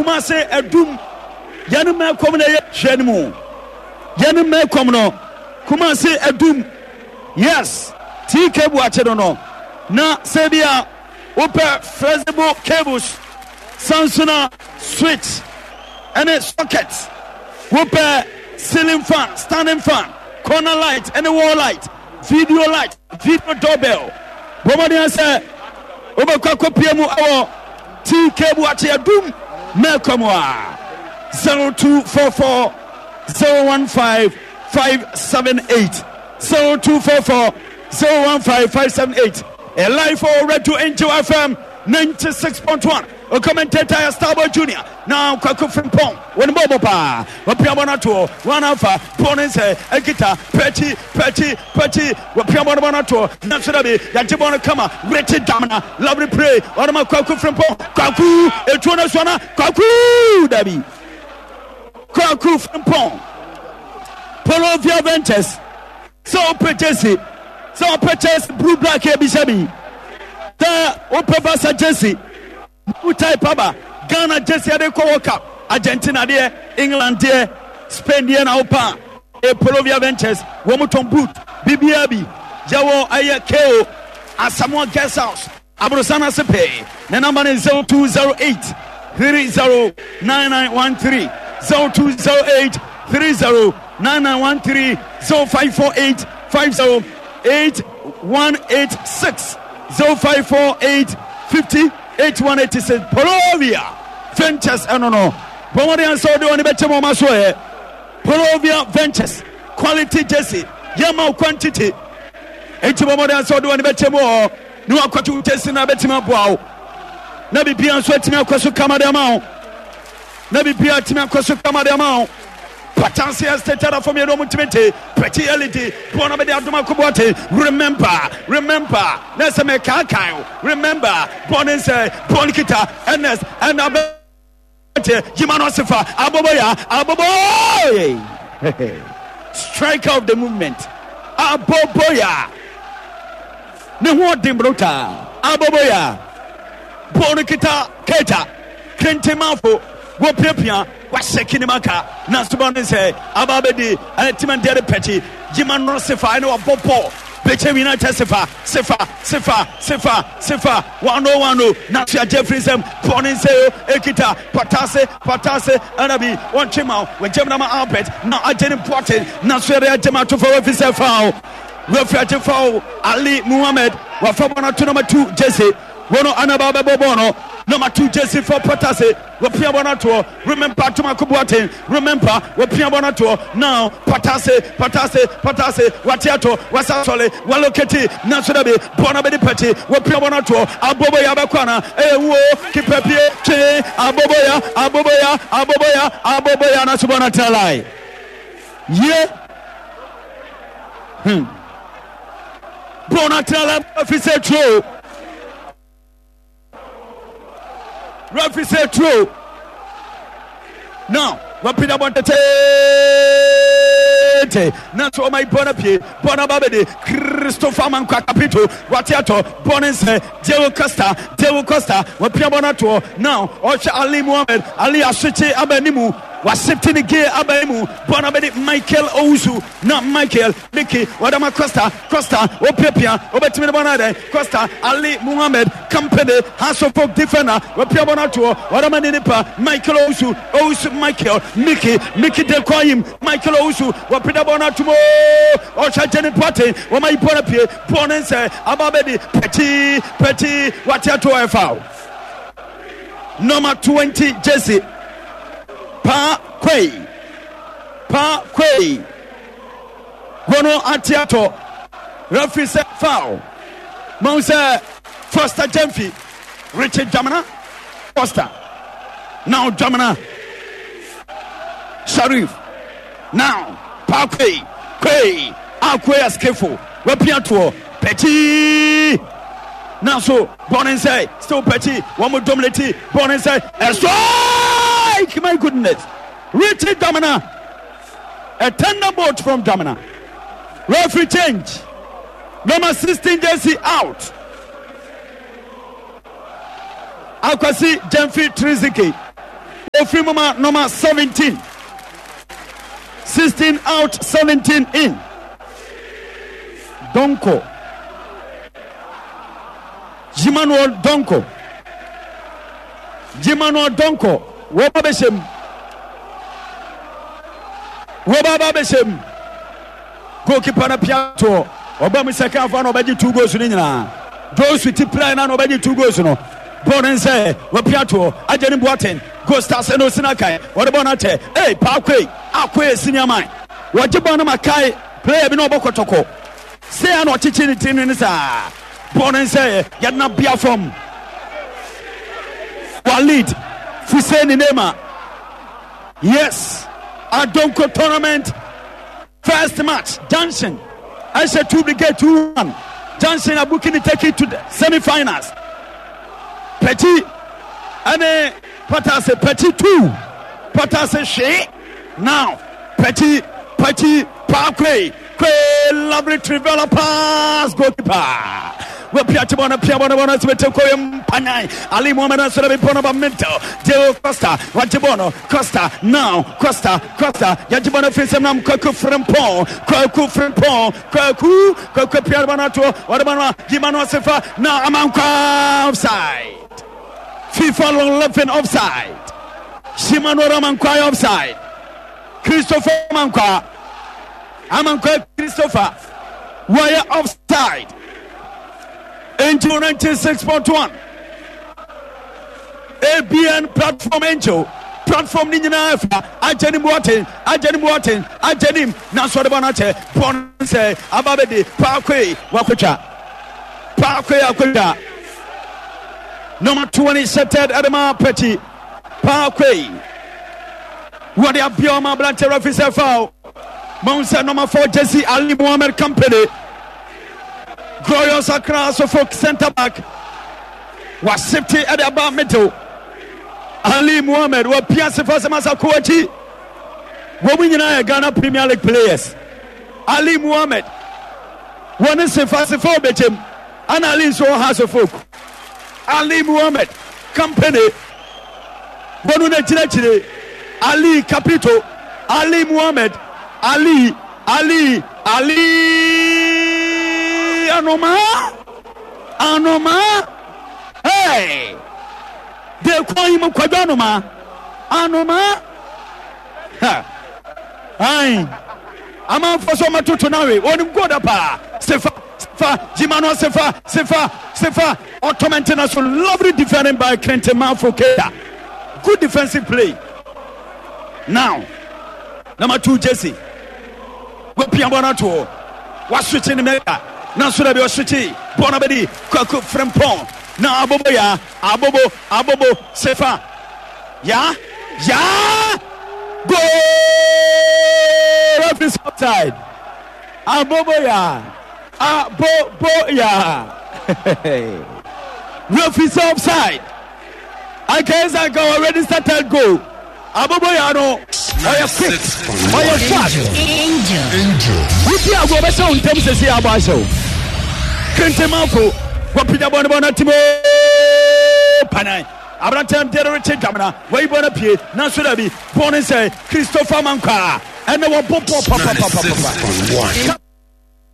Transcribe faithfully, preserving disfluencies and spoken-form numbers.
Kumase Adum yɛne Mɛkɔm na ɛyɛ hwɛ no mu yɛne Mɛkɔm no Kumase Adum yes T K Buakye no no na sɛ bi a wopɛ flexible cables, sansona switch ɛne socket, wopɛ ceiling fan, standing fan, corner light ɛne wall light, video light, video doorbell, bɔmmɔden sɛ wobɛkɔ akɔpie mu ɛwɔ T K Buakye Adum Mɛkɔm a zero two four four zero one five five seven eight, zero two four four zero one five five seven eight. A live for Radio Angel F M ninety-six point one. O commentator Starboy Junior. Now Kwaku Frimpong wɔn bɔ bɔ paa wɔpia bɔ no atoɔ wɔn afa bɔɔl no nsɛ ɛkita pɛkyi pɛkyi pɛkyi wɔpia bɔ no bɔ no atoɔ nanso dabi yagye bɔɔl no kama Richie Damina lovely play wɔn ma Kwaku Frimpong. Kwaku etuo no so na Kwaku dabi Kwaku Frimpong. Polovia Ventures sɛ wopɛ jersey, sɛ wopɛ jersey blue black ebisa bi sɛ wopɛ Barca jersey new type aba, Ghana jersey ade kɔ World Cup, Argentina deɛ, England deɛ, Spain deɛ na wopɛ a e Polovia Ventures wɔn tɔn boot biribiara bi. Yɛwɔ ɛyɛ ko Asamoah Guest House aborosan ase pɛɛ. Ne number ne zero two zero eight three zero nine nine one three, zero two zero eight three zero nine nine one three, zero five four eight five zero eight one eight six, zero five four eight fifty eight one eight six. Polovia Ventures ɛno no bɔmmɔden ansa wode wɔne bɛkyɛ mu ɔma so ɛ Polovia Ventures quality jersey yɛma wo quantity enti bɔmmɔden ansa wode wɔne bɛkyɛ mu hɔ ne wakɔto jersey no abɛtumi aboa wo na biribia nso atumi akɔ so kama de ama wo na biribia atumi akɔ so kama de ama wo. Patanse Estate adafo mmienu ɔmo ntumi nte Pɛti L E D bɔɔl na bɛde adom akɔboate. Remember, remember na ɛsɛ mɛkaakae o. Remember bɔɔl ne nsɛ bɔɔl no kita Ernest ɛna bɛte yima no asefa Aboboya Aboboye, striker of the movement. Aboboya ne ho ɔden brutal. Aboboya bɔɔl no kita Keita Kentemafo wɔpiapia wahyɛ kinimaka nanso bɔɔl no sɛ aba bɛdi ɛne timandeɛ de pɛkyi yima no sefa ɛne wabɔ bɔɔl bɛkyɛ wina kyɛ sefa sefa sefa sefa sefa one oh one oh nanso yɛagye afiri nsɛm bɔɔl ne nsɛ o ekita Patase Patase ɛna bi wɔntwe ma wɔgyam nama Albert na agye ne Boaten nanso yɛde agye ma ato fa wafi sɛ foul referee agye foul. Ali Muhammed wafa bɔɔl no ato number two jersey wɔn anaba bɛbɔ bɔɔl no number two jersey for Patase wɔpia bɔ no atoɔ. Remember Atomako Boaten, remember wɔpia bɔ no atoɔ now Patase Patase Patase wate atɔ wasa sɔle waloketi nanso dabi bɔɔl no bɛdi pɛkyi wɔpia bɔ no atoɔ. Aboboya bɛkɔ ana ɛyɛ wuo keeper pie twe Aboboya Aboboya Aboboya Aboboya nanso bɔɔl no atena line yie hmm bɔɔl no atena line afi sɛ tuo referee sɛ tuo now wapagya bɔ teteete nanso ɔma yi bɔ no pie bɔ no aba bɛde Christopher Mankwa Capito wate atɔ bɔ ne nsɛ Diego Costa Diego Costa wapia bɔ no atoɔ now ɔhwɛ Ali Muhammed. Ali asokye aba animu wasete ne gear aba animu bɔ no bɛde Michael Owusu na Michael Miki wadama Costa Costa opiapia obɛtumi ne bɔ no adɛn Costa Ali Muhammed Company House of Folk defender wapia bɔ no atoɔ wadama ne nipa Michael Owusu Owusu Michael Miki Miki de Kwayim Michael Owusu wapida bɔ no atom ɔhwɛ Jenny Boateng wɔma yi bɔ no pie bɔ ne nsɛ aba bɛdi pɛkyi pɛkyi wate ato ɛfa number twenty jersey Pa Kwei Pa Kwei wɔno ate atɔ referee sɛ foul mahu sɛ Foster Gyamfi Richard Dwamena Foster now Dwamena Sharif now Pa Kwei Kwei Akwei askefo wapia toɔ pɛkyi nanso bɔne nsɛ still pɛkyi wɔn mo dominate bɔne nsɛ a strike. My goodness, Richard Dwamena, a thunderbolt from Dwamena. Referee change, number sixteen jersey out. Akwasi Gyamfi Triziki. Ofiri mu ma number seventeen. Sixteen out, seventeen in. Donko. Emmanuel Donko. Emmanuel Donko. Wɔba bɛhyɛ mu. Wɔba ba bɛhyɛ mu. Goalkeeper no pia toɔ. Ɔba mu second half na ɔbɛgye two goals no nyinaa. Josu ti play na na ɔbɛgye two goals no. Bɔɔl no nsɛ wɔpia toɔ. Agye ne Boateng. Goal stars ɛna osi n'akan. Wɔde bɔɔl no akyɛ. Ee Paakwe. Akoe senior man. Wɔgye bɔɔl no ma kae player bi na ɔbɔ kɔtɔkɔ. Sɛ na ɔkyekye ne ti no saa. Bɔɔl no nsɛ yɛde na bia fam. Walid Fuseni Neymar. Yes. Adonko tournament first match. Junction. Ɛhyɛ two brigade two one. Junction are booking the ticket to the semi-finals. Petit ɛne Patase Petit two. Patase hwee. Now Petit Petit Parkway Kwe lovely trivela pass goalkeeper. Wapia tibona pia bona bona sibete koye mpanyan. Ali Mohamed asore bi bona ba middle. Diego Costa wajibono Costa now Costa Costa yajibona fisem nam Kwaku Frimpong Kwaku Frimpong Kwaku Kwaku pia bona to wadabana Jimano Sefa now Amankwa offside. FIFA long left offside. Shimano Ramankwa offside. Christopher Amankwa Amankwa Christopher were offside. Angel ninety-six point one A B N platform Angel platform ni nyinaa fa agye ne Boateng agye ne Boateng agye nim na so de bɔ n'akyɛ bɔ sɛ aba bɛdi paakwe wakotwa paakwe akotwa number twenty seted Adama Petty paakwe wɔde abia ɔma aberante referee sɛ foul mahu sɛ number four Jesse Ali Mohammed Company Glorious Accra Suffolk center back wasifte ɛde aba middle Ali Mohammed wapia sefa sɛ masa kɔ akyi wɔn mu nyinaa yɛ Ghana Premier League players. Ali Mohammed wɔne sefa sefa ɔbɛkyɛm ana Ali nso wɔ House of Folk. Ali Mohammed Company wɔn na kyerɛkyerɛ Ali Capito Ali Mohammed Ali Ali Ali Anoma Anoma hey de kwan yi mu kwadwo Anoma Anoma ha ai amanfo so matoto nawe onim goda pa sefa sefa jimano sefa sefa sefa ɔtɔmɛnte na so lovely defending by Clinton Manfo Keita. Good defensive play. Now number two Jesse wapia bɔ no atoɔ waswitche ne mɛka na so da bi ɔswitche bɔ no bɛdi Kwaku Frimpong na abobo ya abobo abobo sefa ya ya goal referee offside abobo ya abobo ya referee offside. Anka already started goal. Abobo ya no ɔyɛ quick ɔyɛ fast. Angel. Angel. Wuti ago bɛhyɛ wo ntam sɛsi abɔ ahyɛ wo. Kentemafo wɔpagya bɔ ne bɔ no timo panan aberanteɛ deɛ rekye dwamena wayi bɔ no pie nanso da bi bɔ ne sɛ Christopher Mankwa ɛnɛ wɔbɔ bɔ papapapapa. Ninety-six point one.